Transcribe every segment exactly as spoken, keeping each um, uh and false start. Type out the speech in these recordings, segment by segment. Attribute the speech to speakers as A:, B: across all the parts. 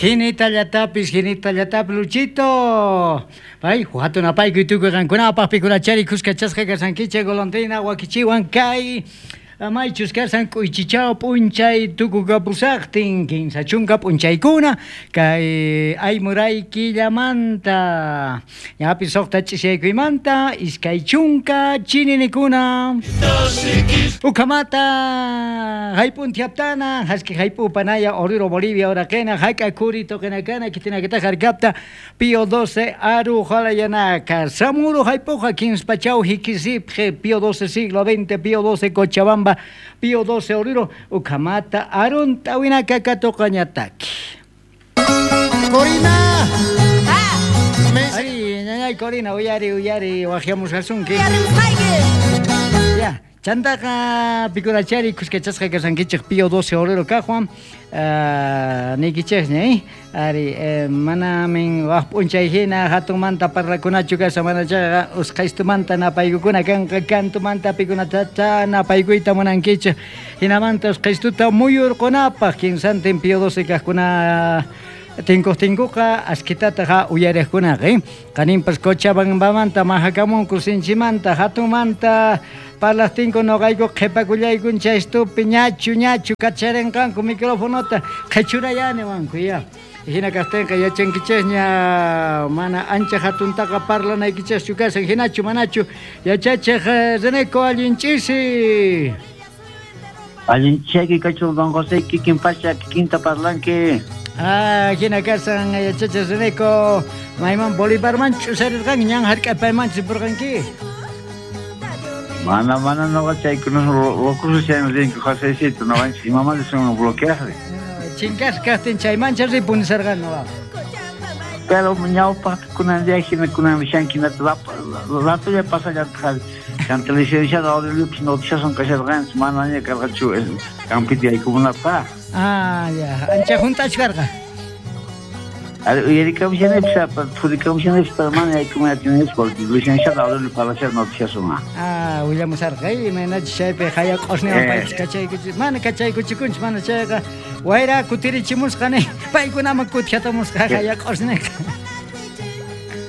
A: Jinita llatapis, jinita llatapis, Luchito. Pay, hatunapaykuy tukuy qankunapaq pikunachari kuskachasqa kasankichik golondrina wakichiwan kay maychus kasan k'uychichaw p'unchay tukukapusaqtin kinsa chunka p'unchaykuna kay aymuray killamanta ñapis suqta ch'isiykuymanta iskay chunka chininikuna ukamata hayp'untiaptana haski hayp'upanaya Oruro Bolivia oraqena hayk'a kuri toqinakana kitinakita harkapta Pío doce aru jalayanaka Samuro hayp'uqa kinsa pachaw hikisipje Pío doce siglo veinte Pío doce Cochabamba Pío doce Oruro ukamata arun tawinaka katoqañataki. Corina. Ari, ñañay Corina, uyari, uyari, wajiamus asunki. Ya, chantaqa pikurachari kuskachasqa kasankichik Pío doce Oruro kajwan. Uh, nikichikña, eh? Ari, eh, manamin waj p'unchay hina hatunmanta parlakunachu kasa mana chayqa usqhaystumanta napaykukuna kanqa kantumanta pikunatacha napaykuyta munankichik hinamanta usqhaystuta muyurqunapaq kinsantin Pío doce kaqkuna tinkuqtinkuqa askitataqa uyariqkunaqa, eh? Qaninpas Cochabambamanta mahakamunku sinchimanta hatunmanta parlaqtinku noqayku qhipakullaykun chaystupi ñachu ñachu kacharinqanku microfonota qhichurayani wanku ya. Hina kaqtinqa yachankichikña mana ancha hatuntaqa parlanaykichikchu kasan hinachu manachu yachachiq Reneco allin ch'isi.
B: Allin ch'aki kachun don José kikin pacha kikinta parlanki.
A: Ah, hina kasan yachachiq Reneco mayman Bolivarman ch'usarirqanki ñan hark'apayman chipurqanki.
B: Mana mana noqa chaykuna locos chayman rinku Josecito noqanchik imamanta son bloqueaqri.
A: Chinkas kaqtin chaymancha ripunisarqan noqa.
B: Pero ñawpaqkunan día hina kunan rishanki ratolla pasallataq chanta licenciado Aurelio noticias kasharqanchik manaña karqachu campita yaykumunapaq.
A: Ah, ya, ancha junt'achkarqa.
B: Ari uyarikamushanipis purikamushanipis pero mana yaykumunatinichik porque licenciado Aurelio Palacios noticias uma.
A: Ah, willamusarqa imaynachus chaypi haya q'usniwan paypis kachaykuchik mana kachaykuchikunchik mana chayqa wayra kutirichimusqa ni paykunaman kutihatamusqa haya q'usniqa.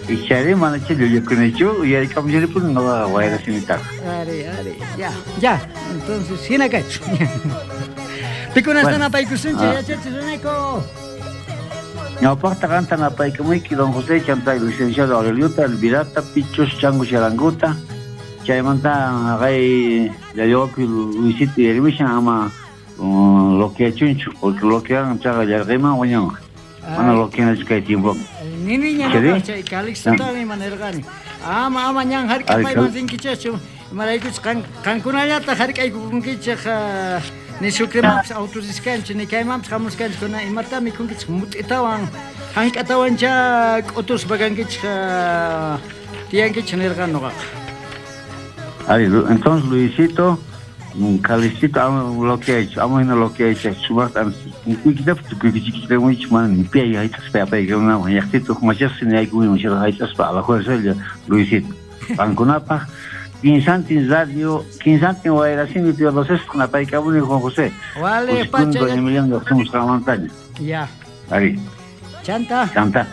B: Ichari mana chay llullakunichu uyarikamushanipuni noqa wayra simitaqa.
A: Ari, ari, ya, ya, entonces hina kachu. Pikunasta napaykusunchik yachachiq Reneco.
B: Ñawpaqta qanta napaykamuyki don José chanta licenciado Aureliota, Elvirata, Pichos, Chango Charanguta, chaymanta haqay llallawapi Luisito uyarimushan ama bloqueachunchu porque bloquean chaqa llarqayman wañunqa. Mana bloqueanachu kay tiempo.
A: Niniña noqa chay Calixtotami ima nirqani. Ama ama ñan hark'apayman rinkichikchu imaraykuchus qankunallata hark'aykukunkichik ni Sucremanpis autoriskanchik ni kaymanpis hamuskanchik kuna imata mikhunkichik mut'itawan hank'atawancha k'utuspa kankichik tiyankichik nirqan noqaqa.
B: Ari, entonces Luisito, Calixtito ama bloqueaychu, ama hina bloqueaychu, sumaqta kuykitapas tukuykichikitamuichik mana ni pi hayt'aspa apaykamunaman llaqtita huk machasqa niyaykuman hayt'aspa a la fuerza Luisito. Qankunapaq Quinsantin Radio, Quinsantin Wayrasimi Pío doce napaykamuni Juan José.
A: Vale, pacha.
B: Don Emiliano lloqsimusqanmantaña.
A: Ya.
B: Ari.
A: Chanta.
B: Chanta.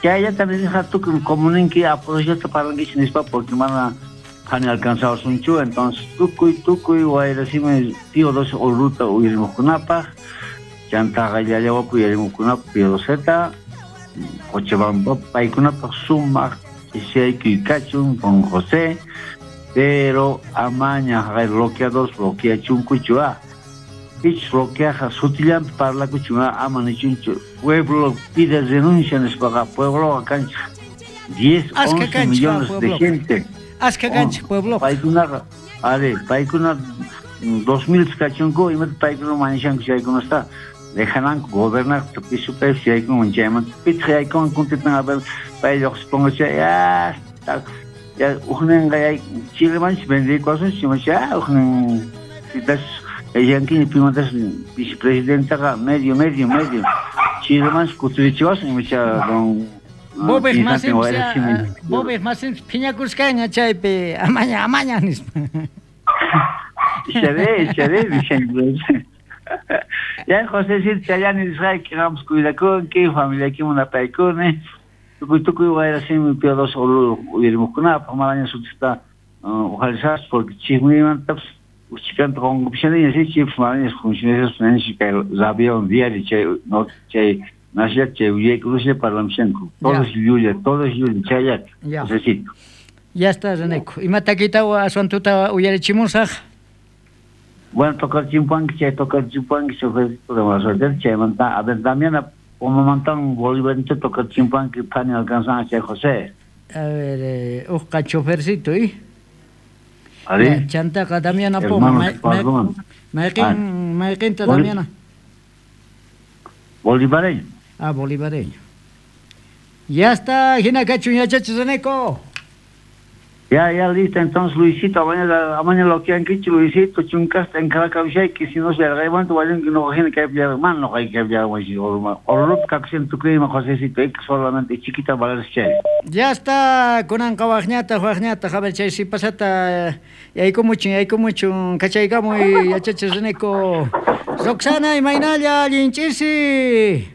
B: Chayllata nisqa tukuy comuninki apoyota parlankichik nispa porque mana hani alcanzawasunchu entonces tukuy tukuy Wayrasimi Pío doce Oruruta uyarimuqkunapaq chantaqa llallawapi uyarimuqkunapaq Pío doceta Cochabamba paykunapaq sumaq ch'isiyaykuy kachun don José pero amaña haqay bloqueados bloqueachunkuchu ah pichus bloqueaqa sutillanpi parlakuchun ama nichunchu pueblo pide renuncia nispaqa puebloqa kanchik diez, once millones de gente.
A: Aska kanchik pueblo.
B: Paykunaqa ari paykuna dos mil kachunku imata paykuna mañashanku chaykunasta dejananku gobernar pisu paypis yaykunman chaymanta pitaq yaykunman kuntitan a ver pay lluqsipunqa chay ya ya ujninqa yay Chilemanchis vendiykuwasunchik imacha ujnin pitas yankiña pimantas vicepresidentaqa medio medio medio Chilemanchis kutirichiwasun imacha don
A: Bobej masinpis Bobej masinpis phiñakusqaña chaypi amaña amaña nispa.
B: Icharé, icharé, nishanku. Ya José chayani nisqayki qampas cuidakunki, familiaykiman apaykuni. Tukuy tukuy wayrasimi Pío doce Oruro uyarimuqkunapaq manaña sutista uqharisaspa porque chismuymantapas uchikanta qonqupishaniña si chipis manaña funcionaspa nanchi kay radio diario chay no chay naslla chay willaykunaslla parlamushanku. Todo es llulla, todo es llulla, chayllata. Josecito.
A: Ya está, Reneco. Imatakita aswantuta uyarichimusaq?
B: Bueno, tocar chimpanqui, chay tocar chimpanqui, chofercito de mala suerte, chaymanta, a ver, Damiana, Pomamantan, Bolívar, tocar chimpanqui, pani alcanzan chay José.
A: A ver, eh, uqa chofercito, ¿eh?
B: A ver.
A: Chantaqa Damiana Poma. Mayqin, mayqinta Damiana.
B: Bolivareño.
A: Ah, bolivareño. Ya está, hina kachun yachachi Reneco.
B: Ya, ya, listo. Entonces, Luisito, mañana, mañana lo que han dicho, Luisito, chuncasta en Caracas, que si no se arreglan, vayan que no hay que hablar, man, no hay que hablar, o lo que siento que me Josecito, que solamente chiquita para el chay.
A: Ya está, con anca guañata, guañata, a ver, chay, si pasata, y ahí como mucho, y ahí como mucho, cachay, como y achache Reneco. Roxana y Mainalla, Linchisi.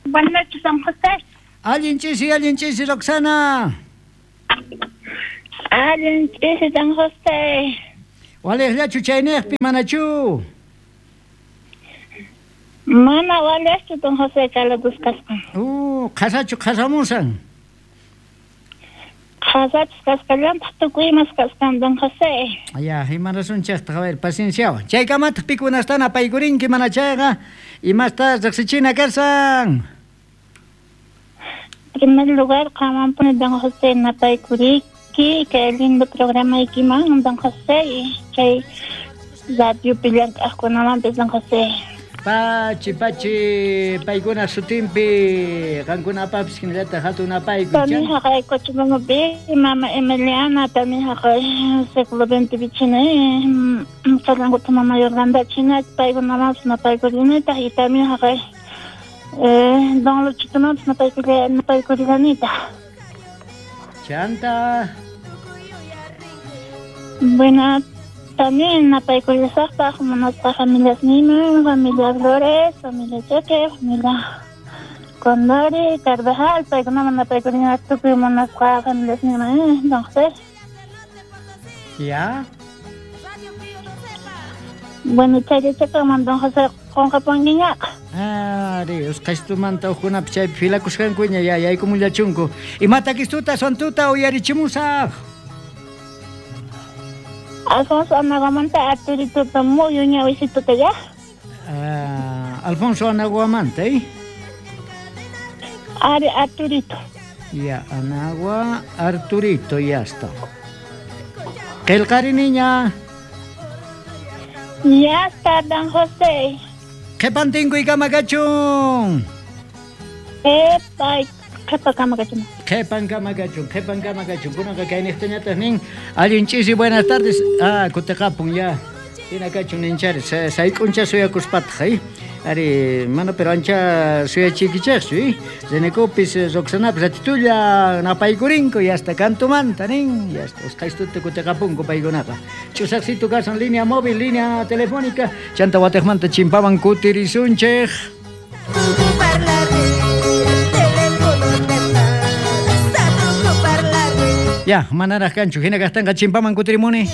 C: Buenas noches, San José.
A: Alguien chisi, alguien chisi, Roxana.
C: Alguien chisi, San José.
A: Wales lachu chaynejpi manachu.
C: Mana waleschu Don José kalatus kasqan.
A: Uh, qhasachu qhasamusan.
C: Qhasachus kasqallantaq tukuy imas kasqan Don José.
A: Ya, imarasunchaqtaq, a ver, pacienciawan. Chaykamataq pikunastana apaykurinki mana chayqa, imasta riqsichina karsan.
C: En primer lugar, qamampuni Don José napaykuriki, kay lindo programaykiman Don José, chay radiopi llank'aqkunamanpis Don José.
A: Pachi, pachi, paykuna sutinpi, qankunapapis hinallataq hatun apaykuy.
C: También haqay Cochabambapi, mama Emiliana, también haqay século veinte pichina, qallankuta mama Yorgandachina, paykunamanpis napaykurinitaq, y también haqay Eh, don Luchito no napaykurillanitaq.
A: Chanta.
C: Bueno, también napaykurillasaqpaq munasqa familias niman, familia Flores, familia Cheque, familia Condori, Carvajal, paykunaman napaykurinaq tukuy munasqa familias niman, eh, don José.
A: Ya.
C: Bueno, chayllachakanman don José qunqapunkiñaqa.
A: Ari, usqhaytumanta hukkunapi chaypi filakusqankuña ya yaykumullachunku. Imatakistuta aswantuta uyarichimusaq?
C: Alfonso Anaguamanta Arturituta muyu ñawisituta ya.
A: Ah, Alfonso Anaguamanta, ¿eh?
C: Ari Arturito.
A: Ya, Anagua Arturito, ya está. Qillqari niña.
C: Ya está, don José.
A: Qhipantinkuy kamakachun.
C: Epa, qhipa kamakachun.
A: Qhipan kamakachun, qhipan kamakachun. Kunanqa kayniqtañataq nin. Allin ch'isi, buenas tardes. Ah, kutiqapun ya. Hina kachun ninchari. Sayk'uncha suyakuspataq, eh? Ari, mana pero ancha suyachiykichaqchu, eh? Renecopis, Roxanapis, ratitulla napaykurinku, ya hasta kantumanta nin, ya hasta usqhaystuta kutiqapunku paykunaqa. Ch'usaqsitu kasan línea móvil, línea telefónica, chanta watiqmanta chimpaman kutirisunchik. Ya, manaraq kanchu, hina kaqtanqa chimpaman kutirimuni.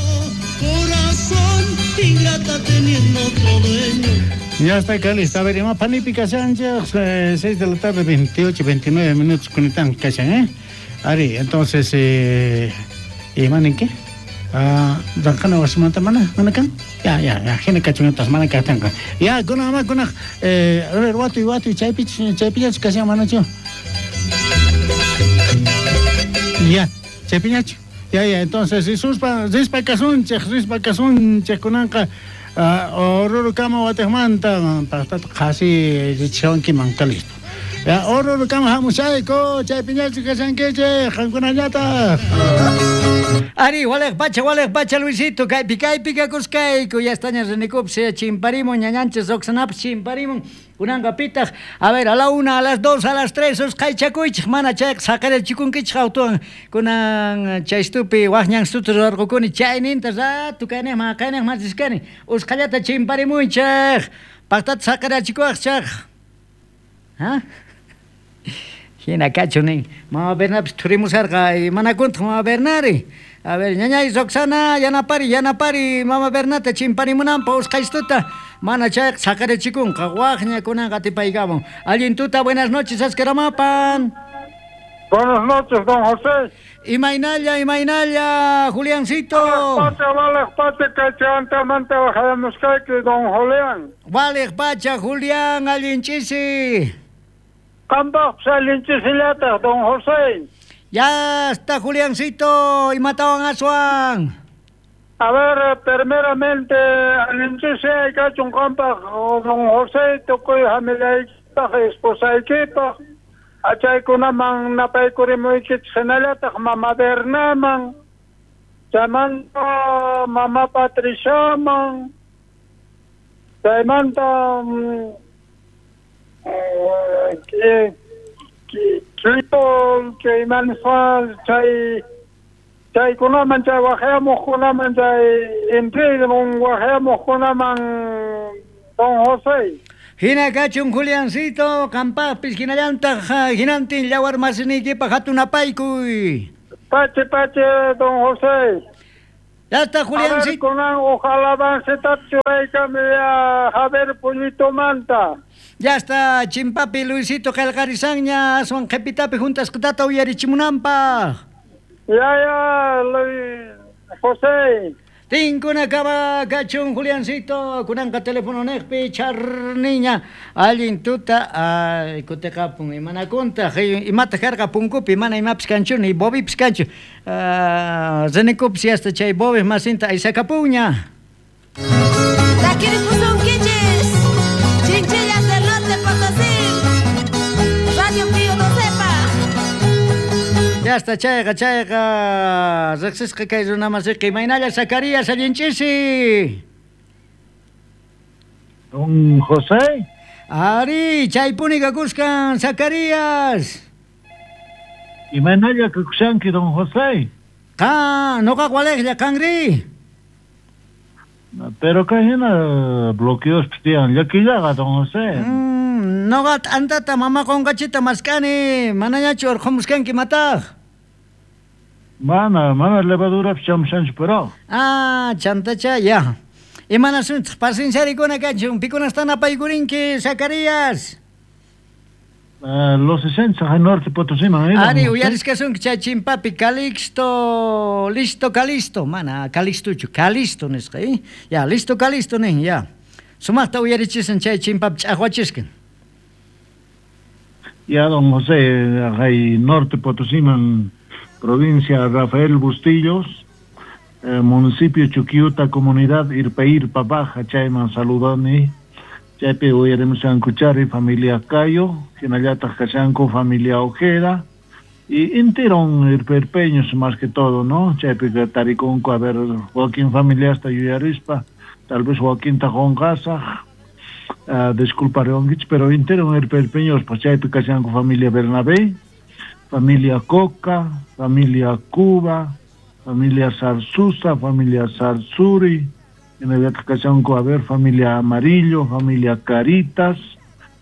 D: Ya está acá lista. A ver, ima panipi kashanchik, seis de la tarde, veintiocho, veintinueve minutos kunitan kashan, ¿eh? Ari, entonces, eh, ¿imanin qué? Ah, ranqana wasimanta mana, mana kan? Ya, ya, ya, hina kachuntas mana kaqtanqa. Ya, kuna ama kuna, eh, a ver, watuy, watuy, chaypi, chaypiñachu kashan manachu. Ya, chaypiñachu. Ya, ya, entonces, risuspa, rispa kasunchik, rispa kasunchik kunanqa. Oruro kama watiqmanta paqtata qhasi richiwankiman listo. Ya Oruro kama hamushayku, chaypiñachu kashankichik, qankunallataq.
A: Ari, walej pacha, walej pacha, Luisito, kaypi kaypi kakuskayku, ya estaña renikupsi, chimparimun, ñañanchis Roxanapis chimparimun, kunanqa pitaq, a ver, a la una, a las dos, a las tres, usqhaychakuychik, mana chayqa saqirachikunkichik autuwan, kunan chaystupi waqñanstuta rurarqukuni, chayninta rato kayniqman kayniqman riskani, usqhallata chimparimuychik, paqtata saqirachikuwaqchik. ¿Ah? Hina kachu nin, mama Bernapis thurimusarqa, manakuntaq mama Bernari. A ver, ñañay Roxana, yanapari, yanapari, mama Bernata chimparimunanpa usqhaystuta, mana chayqa saqirachikunqa, waqña kunanqa atipaykamun. Allin tuta, buenas noches, askaramapan.
E: Buenas noches, don José.
A: Imaynalla, imaynalla, Juliancito.
E: Pacha, walej pacha, kaychawantamanta wajayamushkayki, don Julián.
A: Walej pacha, Julián, allin ch'isi.
E: Qanpaqpis allin ch'isillataq, don José.
A: Ya está, Juliancito, imatawan aswan.
E: A ver, primeramente, allin ch'isi kachun qanpaq, don José, tukuy familiaykipaq, esposaykipaq, achaykunaman napaykurimuykichik hinallataq mama Bernaman, chaymanta mama Patriciaman, chaymanta Quito, chaymanfa, chay chaykunaman, chay wajayamuqkunaman, chay intrigun wajayamuqkunaman, don José.
A: Hina kachun Juliancito, qampaqpis hinallantaq hinantin yawar masiniykipaq hatun apaykuy.
E: Pache, pache, don José.
A: Ya está, Juliancito.
E: A ver, kunan ojalá avanceta churaykami a Javier Pullito Manta.
A: Ya está, chimpapi Luisito qillqarisanña, aswan qhipitapi juntasqatata uyarichimunanpaq.
E: Ya, ya, Luis José.
A: Tinkuna kaba kachun Juliancito, kunanqa teléfono niqpi charniña, allin tuta, ay, kutiqapun, imanakuntaq, imataq karqa punkupi, mana imapis kanchu, ni bobipis kanchu, uh, rinikupis hasta chay bobis masinta aysakapunña.
F: Takiripusunkichis, Chinchillas del Norte Potosí, Radio Pío Docepa.
A: Ya está, chayqa, chayqa, riqsisqa kay runamasiqa, imaynalla Zacarías, allin ch'isi.
B: Don José.
A: Ari, chaypuni kakuskan, Zacarías.
B: Imaynalla kakushanki, don José.
A: Qa, noqaq walejlla, qanri.
B: Pero kay hina bloqueos tiyan llakillaqa, don José.
A: Mm, noqa t'antata mama qonqachita mask'ani, manañachu urqhumuskanki mataq.
B: Mana, mana levadurapis chamushanchu pero.
A: Ah, chantacha, ya. Imanasunchik, pacienciarikuna kachun, pikunastan apaykurinki, Zacarías.
B: Uh, los sesenta al norte Potosí, man.
A: Ari, uyarisqasunki chay chimpapi, Calixto, listo, Calisto, mana, Calixtuchu, Calisto nisqa, eh? Ya, listo, Calisto nin, ya. Sumaqta uyarichisan chay chimpapi ch'aqwachiskan.
B: Ya, don José, hay norte Potosí, man, provincia Rafael Bustillos, eh, municipio Chuquiuta, comunidad Irpa Baja, chayman saludani. Chaypi uyarimushanku chari, familia Cayo, hinallataq kashanku familia Ojeda, y interon irperpeños más que todo, ¿no? Chaypi tarikunku, a ver, Joaquín familia hasta yuyarispa, tal vez Joaquín tajonqasaq, uh, disculparonkichik, pero interon irperpeños, pues chaypi kashanku familia Bernabé, familia Coca, familia Cuba, familia Zarzuza, familia Zarzuri, hinallataq kashanku, a ver, familia Amarillo, familia Caritas,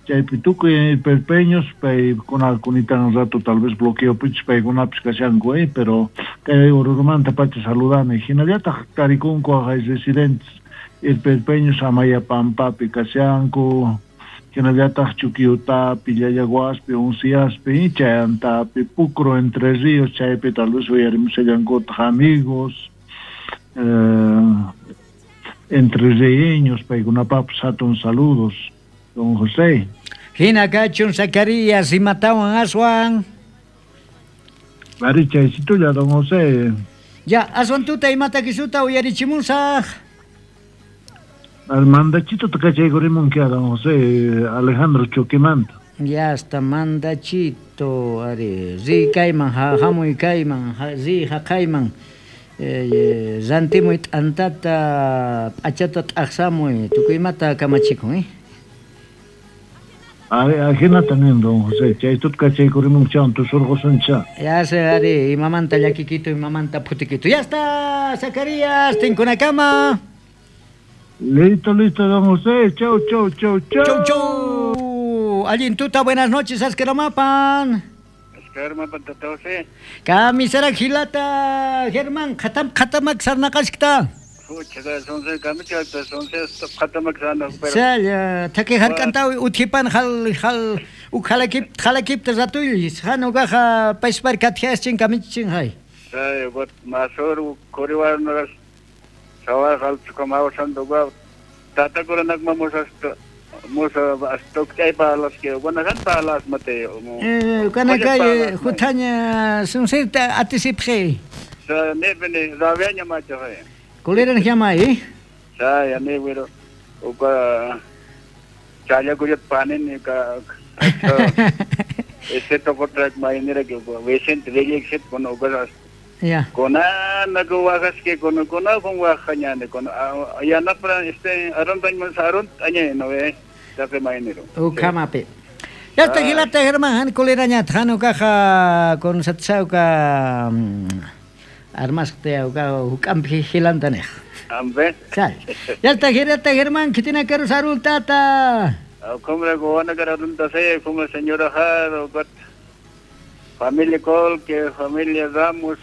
B: chaypi tukuy irperpeños, paykuna kunitan rato tal vez bloqueo pichis paykunapis kashanku, eh, pero kay Orurumanta pacha saludani, hinallataq tarikunku hay residentes irperpeños Amayapampapi kashanku, hinallataq Chuquiutapi, Llallaguaspi, Unciaspi, Chayantapi, Pucro, Entre Ríos, chaypi tal vez uyarimushallankutaq amigos, eh, entre reeños, paykunapapis hatun saludos, don José.
A: Hina kachun Zacarías, imatawan aswan.
B: Ari chaysitulla, don José.
A: Ya, aswan tuta imata kisuta uyarichimusaq.
B: Al mandachito takachaykurimunk don José Alejandro Choquemanta.
A: Ya hasta mandachito, ari, ri kayman, hamuy kayman, ri haqayman, eh, rantimuy t'antata, p'achata t'aqsamuy, tukuymata kamachikun, eh?
B: Ari, ajinata nin don José, chay tutka chaykurimun chan, tusurqusuncha.
A: Ya se, ari, imamanta llakikito, imamanta phutikito. Ya está, Zacarías, tinkunakama.
B: Listo, listo, don José, chau, chau, chau, chau.
A: Chau, chau. Allin tuta, buenas noches, Askeramapan.
E: Askeramapan, tata José.
A: Kamisara gilata, Germán, khatam, khatamak sarnaqashkta. Sal, taki harkantawi uthipan hal hal ukhalakip khalakip ratuy, hanugaja paispar kathiaschin kamichin hay.
E: Say, got masur koriwar noras sawar hal chukamawsan doga tata kuranak mamusas musa astok chay palas que buenas palas mate.
A: Eh, kanakay huthaña sunsirta atisipje.
E: Sa ne bene raviaña macho hay.
A: Kuleran llama eh?
E: Sa ya ne güero uka chaya kuyat panen ka ese toko track mainera que Vicente Vélez con uka
A: ya
E: kona nago wagas que con kona con wajañane con ya na para este aron tan aron añe no ve tape mainero
A: ukamape. Ya está gilata Germán han kuleraña thanu caja con satsauka armaste uka hukampi gilantanej.
E: Ambe.
A: Sal. Ya está gilata Germán que tiene que usar tata.
E: Como gona kararun tase como señora Har got familia Col que familia Ramos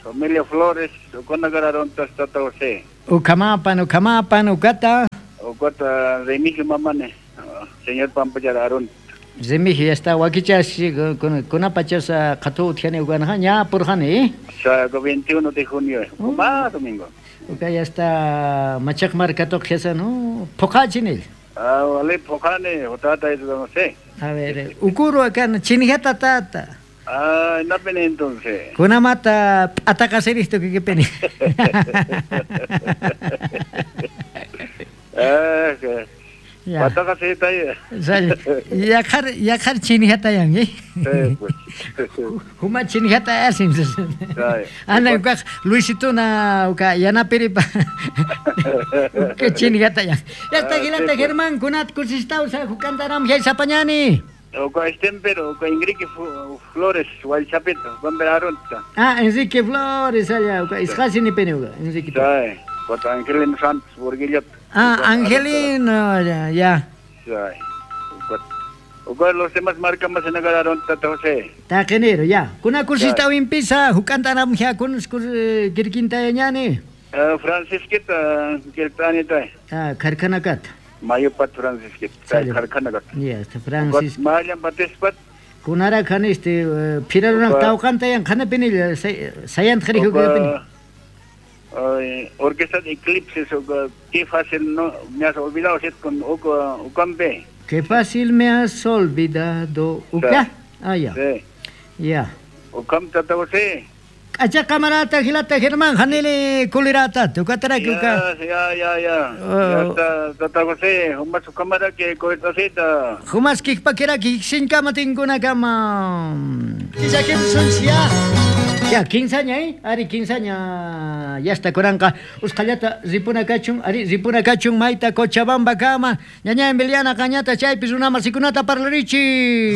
E: familia Flores kona kararun tata José.
A: Ukamapan ukamapan ukata.
E: Ukata Remigio mamane señor Pampachar Arun.
A: Remigio ya está wakichas con con apachasa qatu tiene ugana ña purjani.
E: Sa veintiuno de junio, más domingo.
A: Uka ya está machak marcato khesa no pocachinil.
E: Ah, vale, pocane, otata eso no sé.
A: A ver, ukuru acá chinijata tata.
E: Ah, no pene entonces.
A: Kunamata atacaseristo que que pene.
E: Ah, que patacasita ya.
A: Yakhar yakhar chinijata yang, eh?
E: Sí, pues.
A: Huma chinijata asim. Ana uka Luisito na uka yana piripa. Uka chinijata yang. Ya está gilata Germán kunat kusistausa hukantaram jay sapañani.
E: Uka Estempero, uka Enrique Flores, Hualchapito, Gomber Aronta.
A: Ah, Enrique Flores allá, uka isqasi ni pene uka Enrique.
E: Sí, uka Angelino Santos Burguillot.
A: Ah, Angelino, ya, ya.
E: Sí. Uka los demás marcas más en agarraron tata José.
A: Taquenero, ya. Kuna kursista uimpisa, hukantaram ja kun kirkinta ñani.
E: Francisquita, kirtanita.
A: Ah, karkanakat.
E: Mayupat Francisquita, karkanakat.
A: Ya, este Francis.
E: Mayan Batispat.
A: Kunara khan este firaruna tawqanta yan khana penil sayant khari hukapini.
E: Orquesta de Eclipses, qué fácil no me has olvidado con Ucambe.
A: Qué fácil me has olvidado. Uca? Ah, ya.
E: Sí.
A: Ya.
E: Ucam tata José.
A: Acha camarata gilata Germán hanele kulirata tukatara
E: kuka. Ya ya ya. Ya está tata José, humas cámara que coetacita.
A: Humas kikpakera kiksinka matinkuna kama. Kisakim sunsia. Ya, quinceaña, eh? Ari, quinceaña. Ya está, coranca. Uscallata, ripuna kachun, ari, ripuna kachun, maita, Cochabamba, kama. Ñaña, Emiliana, cañata, chaypis, una masikunata, parlarichi.